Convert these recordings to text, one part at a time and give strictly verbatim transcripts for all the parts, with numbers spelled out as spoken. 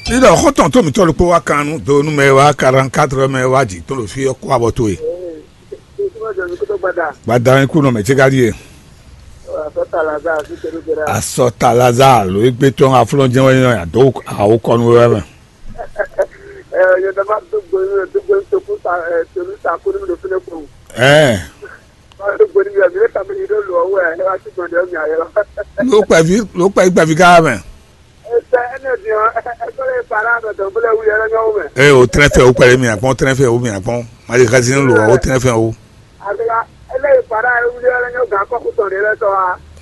Níɖɔ xɔ́ntɔn tó mǐtɔn ɖokpó wá kan nú do nú mɛ wá quarante-quatre mɛ wá jǐ tɔn ɖo fí ɔ́ kó abɔ towe. Gbadá kú nɔ mɛ cé ka ɖíe. Asɔta Lazare ló égbé tɔn aflɔ́n jɛ́n wɛ nyɔ adó awo kɔ nú wɛ mɛ. Ɛɛ. Ló kpɛví ló kpɛví kpɛví ká mɛ. Ee, o tɛnɛ fɛ o kpɛlɛ mi akpɔn, o tɛnɛ fɛ o mi akpɔn. Mali kasi lo o tɛnɛ fɛ o.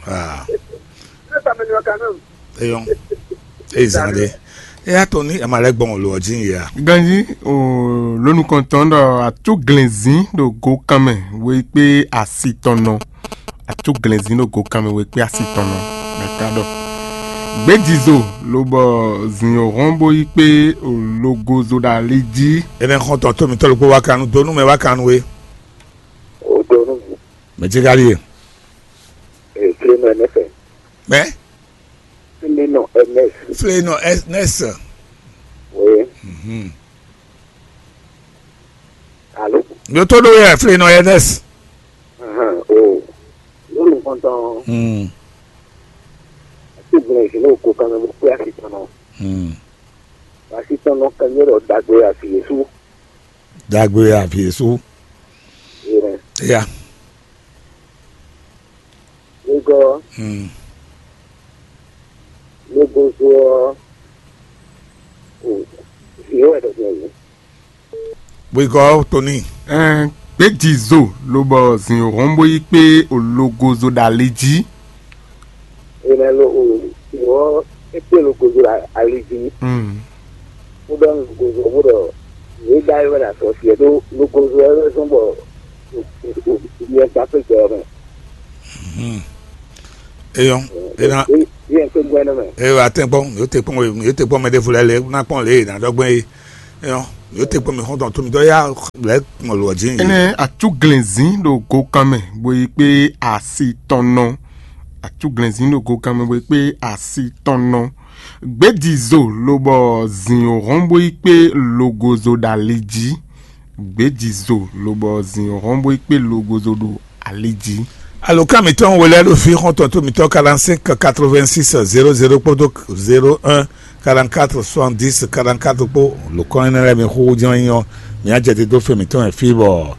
Aa. Eyɔn. Eyi zan de. Eya tɔ ni ama lɛ gbɔn lo ɔdzi ya. Ganji o lónú kɔntɔn ɖɔ atú glɛnzin ɖo go kan mɛ wé kpé asi tɔn nɔ. Atú glɛnzin ɖo go kan mɛ wé kpé asi tɔn nɔ. Mɛ ka ɖɔ gbɛjizo lobɔ zin o hɔn bo yi kpé o logozo ɖo ali jí. Enɛ xɔntɔn tó mitɔ́ ɖokpó wá kanu donu mɛ wá kanu we. O donu. Mɛ jí ka ɖíe. Ee, flénɔ ɛnɛsɛ. Mɛ. Flénɔ ɛnɛsɛ. Flénɔ ɛnɛsɛ. Oui. Mhm. Alo. Yótó ɖó yɛ flénɔ ɛnɛsɛ. Ahan, o. Lónìí kɔntɔn. Hmm. Àti ìgbìmọ̀ ìṣúná òkú kan ló pé àṣìṣàn náà. Hmm. Àṣìṣàn náà kan yóò lọ dàgbé àfiyèsú. Dàgbé àfiyèsú. Ìrìn. Ya. Lugɔ. Hmm. Lugɔ zɔ. O. Ìyẹn wà dọ̀tí ẹ̀yìn. Bwigɔ Tony. Ɛn, gbějǐzo lobɔ zǐn hɔn bó yí kpé ologozo ɖo ali jí. Enɛ lo o, ìwọ ekpe logozo ɖo ali jí. Mm. Kódɔ logozo bó ɖɔ yě ɖa yɔ ɖo asɔ fiɛ ɖó logozo ɛ zɔn bɔ yɛ gba pé gbɛ ɔmɛ. Hmm. Eyɔn, ena. Yɛ pé gbɛ nɔ mɛ. Eyɔ atɛnkpɔn, yóò te kpɔn, yóò te kpɔn mɛ ɖěvo lɛ lɛ ná kpɔn lě e ná ɖɔ gbɛn é. Eyɔn, yóò te kpɔn mɛ xɔntɔn tó mi dɔ ya lɛ kpɔn lɔ jí. Enɛ atúglɛnzín ɖo gokan mɛ bó yi kpé asi tɔn nɔ. Atúglɛnzín ɖo gokan mɛ bó yi kpé asi tɔn nɔ. Gbějǐzo lobɔ zǐn hɔn bó yi kpé logozo ɖo ali jí. Gbějǐzo lobɔ zǐn hɔn bó yi kpé logozo ɖo ali jí. Alǒkan mǐtɔn we lɛ́ɛ ɖo fí xɔ́ntɔn tó mǐtɔn quarante-cinq quatre-vingt-six zéro zéro kpódó zéro un quarante-quatre soixante-dix quarante-quatre kpó lǒkɔ́n énɛ́ lɛ́ɛ mi xúxú jɛ́n nyí ɔ́, mǐ á jɛ te dó fɛn mǐtɔn wɛ fí bɔ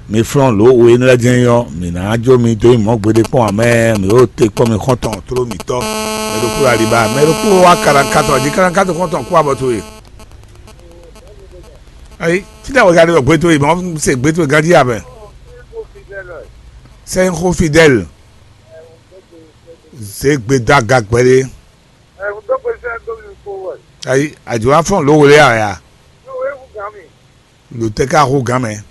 mi flɔ́n lǒ we énɛ́ lɛ́ɛ jɛ́n nyí ɔ́, mǐ ná jó mi dó nyi mɔ̌ gbeɖé kpɔ́n ǎ mɛ, mǐ ó te kpɔ́n mi xɔ́ntɔn tló mǐtɔn. Mɛ ɖokpó aliba, mɛ ɖokpó wá quarante-quatre jí, quarante-quatre xɔ́ntɔn kú abɔ towe. Ayi, fínɛ́ wɛ ka ɖe wɛ gbé towe, mɔ̌ se gbé towe ganjí abɛ. Sɛnxo Fidèle. Zé gbe dó aga gbɛɖé. Ayi, àjò wá fɔ́n lǒ wlé a ya? Lǒ tɛ́ ká hú gǎn mɛ.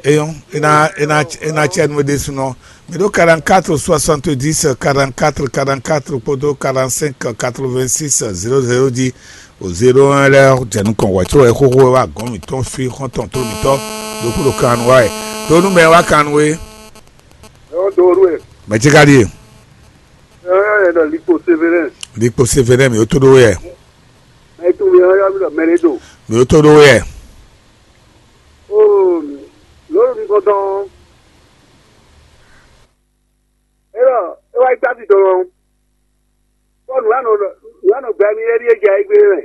Eyɔn, e ná e ná e ná cɛ nu ɖésúnɔ. Mi ɖó quarante-quatre soixante-dix quarante-quatre quarante-quatre kpódó quarante-cinq quatre-vingt-six zéro zéro jí o zéro un lɛ́ɛ jɛ nukɔn wɛ có wɛ xóxó wɛ wá gɔ̌n mǐtɔn fí xɔ́ntɔn tó mǐtɔn ɖokpó ɖo kan nu wá wɛ. Tó nú mɛ wá kan nu é. Ɛ́ dó ɖu ɛ. Mɛ cí ka ɖíe. Ɛ ɛ ɖɔ Likpo Severin. Likpo Severin mi ó tó ɖó wɛ. Ɛ tó mi ɔ́ yá mi ɖɔ Mɛlɛdo. Mi ó tó ɖó wɛ. Oo, lǒ mi kɔntɔn. É ɖɔ é wá yi kpási tɔn ɔ́. Kpɔ́ nǔ anɔ nǔ anɔ gbɛ mi é ɖíe jɛ ayigbe mɛ.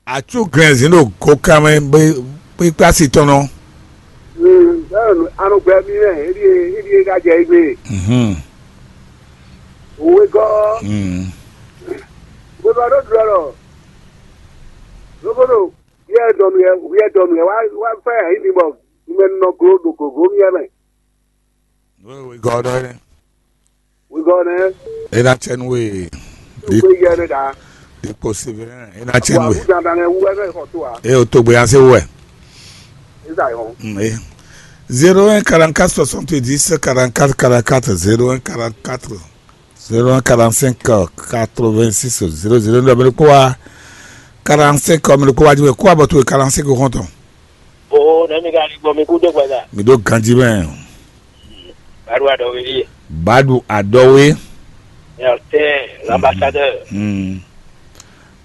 Atú glɛnzin ɖo gokan mɛ kpékpé asi tɔn nɔ. Anɔ gbɛ mi mɛ é ɖíe é ɖíe ka jɛ ayigbe. Mhm. Òwe gɔ́. Mhm. Gbogbo ɖó ɖu ɔlɔ. Lóbóɖo. Wíyɛ́ dɔnu yɛ wíyɛ́ dɔnu yɛ wá wá fɛ ayǐ mi bɔ numɛ nɔ glo ɖo gǒgó mì yɛ mɛ. Wígɔ ɖɔ yɛ. Wígɔ nɛ. E na cɛ nu we. Wígɔ yɛ ne ɖa. Ikpo sivɛ e na cɛ nu we. Awu dandan nɛ wu wɛ nɛ xɔ to a. E o togbe ya se wɛ. Eza yɔ. Mm, e. Zéro un quarante-quatre soixante-dix quarante-quatre quarante-quatre zéro un quarante-quatre. Zéro un quarante-cinq quatre-vingt-six zéro zéro. Mɛ ɖokpó wá quarante-cinq, mɛ ɖokpó wá jí wɛ kó abɔ towe quarante-cinq xɔntɔn. O nɛ mi ka ni gbɔ mi kú dó gbɛda. Mi ɖó ganji mɛ. Badu adɔwe ye. Badu adɔwe. Merci, l'ambassadeur. Hmm.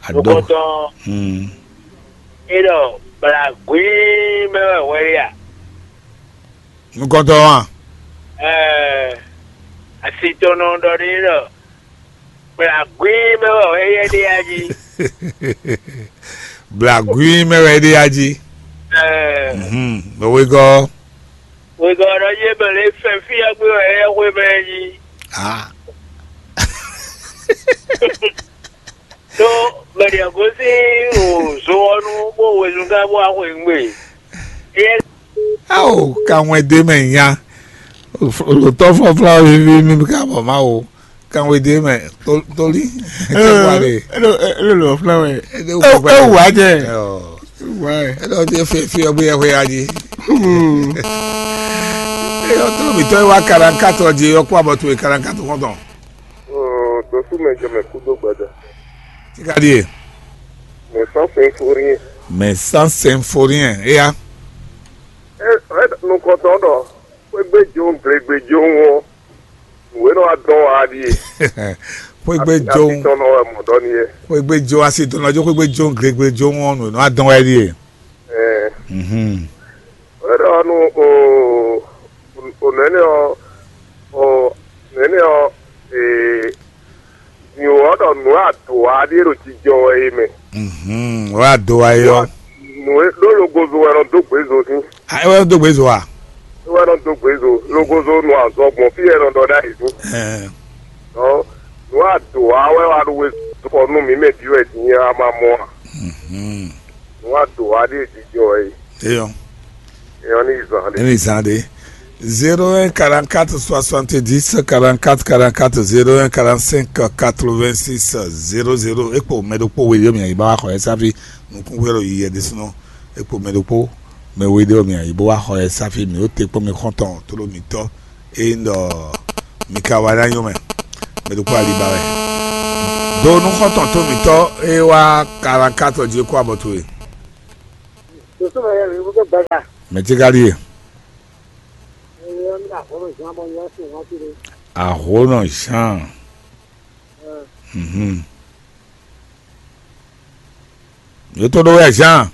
Adó. Nukɔntɔn, hmm, é ɖɔ blagwíí mɛ wɛ hwɛ ɖe a? Nukɔntɔn wa? Ɛɛ, asitɔnɔ ɖɔ ɖe ɖɔ blagwíí mɛ wɛ hwɛ yɛ ɖe a jí. Blagwíí mɛ wɛ ɖe a jí. Ɛɛ, mhm, mɛ wegɔ́. Wegɔ́ ɖɔ yé mɛ lě fɛn fí ɔ́ gbé wɛ é xwé mɛ é jí. Ah. Ɖó mɛ ɖě gosín o zo ɔ́ nu bó wezun gán bó wá xweyǐgbe. Éyɛ́ Ao, kanwɛ ɖé mɛ nya. Lotɔ fɔfla vivi mi ka bɔ ma o. Kanwɛ ɖé mɛ, toli. Elo elo elo fla wɛ. Ewu ajɛ. Ewu ayɛ. Eɖɔ ti fi fi ɔgbé yɛ xwe aji. Eyɔ tó mi tɔ wa karankat ɔdzi yɔ kó abɔ towe karankat kɔntɔn. Dosú mɛ jɛ mɛ kúdó gbada. Tika ɖie. Mais sans symphorien. Mais sans symphorien, eya. Ɛ ɛ nukɔntɔn ɖɔ xwégbé jo glegbe jo ŋɔ nǔ e nɔ wá dɔn wá ɖíe. Xwégbé jo. Asi tɔn nɔ wɛ mɔ dɔ ni yɛ. Xwégbé jo asi tɔn nɔ jo xwégbé jo glegbe jo ŋɔ nǔ e nɔ wá dɔn wá ɖíe. Ɛ Mhm. Wɛ ɖɔ nu o o nɛnɛ ɔ o nɛnɛ ɔ ee nyo ɔ ɖɔ nǔ ado wá ɖíe ɖo jijɔ wɛ é mɛ. Mhm. Wá do wá yɔ. Nǔ e ɖó logozo wɛ nɔ dó gbězo sín. A é wɛ dó gbězo a? É wɛ nɔ dó gbězo logozo nɔ azɔ gbɔn fí wɛ nɔ ɖɔ ɖ'ayǐ sín. Ɛɛ. Ɔ nǔ ado wá wɛ wá ɖo we kɔ nú mǐ mɛ ɖi wɛ din a ma mɔ a? Mhm. Nǔ ado wá ɖíe jijɔ wɛ é. Eyɔ. Eyɔ ní zan ɖe. Ní zan ɖe. Zéro un quarante-quatre soixante-dix quarante-quatre quarante-quatre, zéro un quarante-cinq quatre-vingt-six zéro zéro. Ekpo mɛ ɖokpó we ɖé mi yi ba wa xɔ yɛ sáfi nukún wéro yi yɛ ɖésúnɔ. Ekpo mɛ ɖokpó mɛ we ɖé mi yi bó wa xɔ yɛ sáfi mi ó te kpɔ́n mi xɔntɔn tó ɖo mi tɔ. Eye un ɖɔ mi ka wá ná nyɔ́ mɛ. Mɛ ɖokpó ali ba wɛ. Do nú xɔntɔn tó mi tɔ eye wá quarante-quatre jí kó abɔ towe. Doso mɛ yɛ mi gbogbo gbɛga. Mɛ tí ka ɖíe. Eye ɔ́ ní àhɔ́nɔ Jean bɔ yɔ sí wọn ti ɖe. Àhónɔ Jean. Mhm. Yótó ɖó wɛ Jean.